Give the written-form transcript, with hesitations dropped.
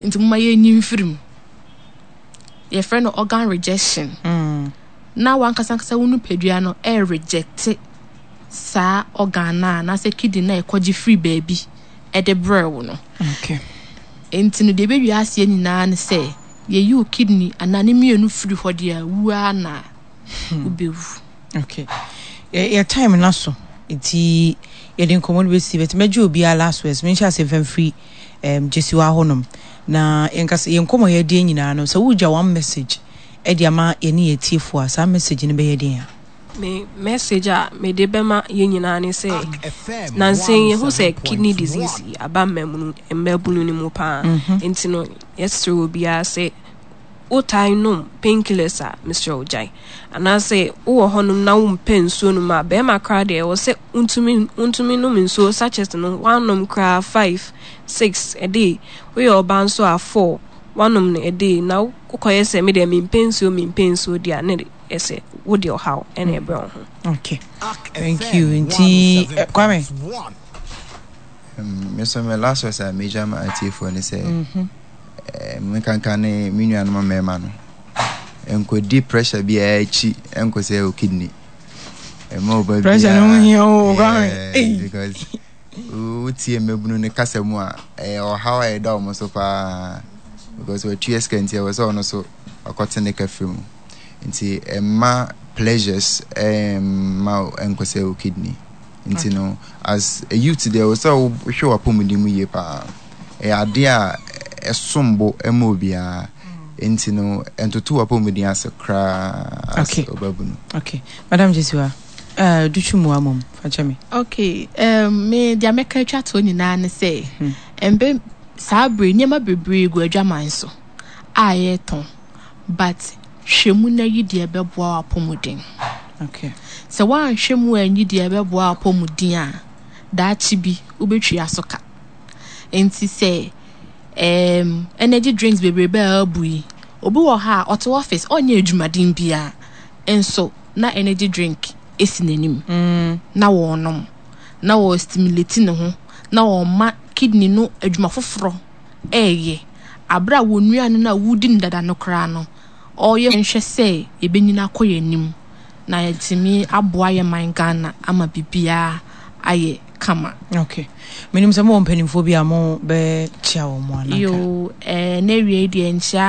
Nti momma yɛnyi mfiri mu. Yɛfrɛ no organ rejection. Mm. Na wankasa ankasa wo nipadua no ɛrejecte saa organ no a anaasɛ kidney no a ɛkɔgye firi baabi ɛde brɛ wo no. Okay. Nti no deɛ ɛbɛwie aseɛ nyinaa ne sɛ yɛyi wo kidney anaa ne mmienu firi hɔ deɛ a wu ara na wobɛwu. Okay. Yɛ yɛ time no aso nti yɛde nkɔmmɔ no bɛsi but mɛgye obiara last words menhyɛ ase mfa mfiri um, Gyesiwa hɔnom na yɛnkasa yɛn nkɔmmɔ yɛdeɛ nyinaa no sɛ wogya one message ɛde ama yɛne yɛn atiefoɔ a saa message no bɛyɛ den a. Me message a mede bɛma yɛn nyinaa ne sɛ nansa yi yɛhu sɛ kidney disease yi aba mmabunu mmabunu no mu paa nti no yɛsrɛ obiara sɛ wotae nom painkillers a, mesrɛ wo gyae. Anaasɛ wowɔ hɔnom na wompɛ nsuo nom a, bɛrima koraa deɛ ɛwɔ sɛ wontumi wontumi nom nsuo sachets no woanom koraa five, six a day. Woyɛ ɔbaa nso a four woanom no a day. Na wokɔyɛ sɛ me deɛ mempɛ nsuo mempɛ nsuo deɛ a na ɛsɛ wode ɔhaw ɛna ɛbrɛ wo ho. Okay. Thank you. Nti eh, Kwame. Me so me last words a megya ma atiefoɔ ne sɛ mhm. eh, menkanka ne me nuanom mmarima no nkɔdi pressure biara akyi nkɔ sɛ o kidney ɛma ɔba pressure no ho hia o Kwame because wotie mmabunu no kasa mu a ɛyɛ ɔhaw a ɛda wɔn so paa because watua sika nti ɛwɔ sɛ ɔno so ɔkɔte ne ka firi mu nti ɛma pleasures ɛmma nkɔ sɛ o kidney Nti no, as a youth deɛ ɛwɔ sɛ wohwɛ w'apɔmuden mu yie paa. Ɛyɛ adeɛ a ɛsom bo ma obiara. Nti no, ɛntoto w'apɔmuden ase koraa as Okay. ɔbabunu. Okay. Madam Jesiwa, uh, dutwu mu amom, fa kyɛ me. Okay, um, me deɛ mɛka atwa toɔ nyinaa ne sɛ, mbɛ saa bere nneɛma bebree gu adwaman so a yɛretɔn. But hwɛ mu na yi deɛ ɛbɛboa w'apɔmuden. Okay. Sɛ woanhwɛ mu anyi deɛ ɛbɛboa w'apɔmuden a, daakye bi wobɛtua so ka. Nti sɛ um, energy drinks bebrebe a abu yi, obi wɔ hɔ a ɔte office ɔnyɛ adwumaden biara, nso na energy drink esi n'anim mm. na wɔrenom na wɔrestimulate ne ho na wɔma kidney no adwuma foforɔ reyɛ bere a wɔn nnuane no a wodi no dada no koraa no, ɔreyɛ. Nhwɛ sɛ yɛbɛnyini akɔ yɛn anim na yɛatumi aboa yɛn man Ghana ama biribiara ayɛ kama. Ok. Menim sɛ mowɔ mpanimfoɔ bi a mo bɛ kyia wɔn anaa nka? Yoo, ɛɛ, n'awiei deɛ nkyia.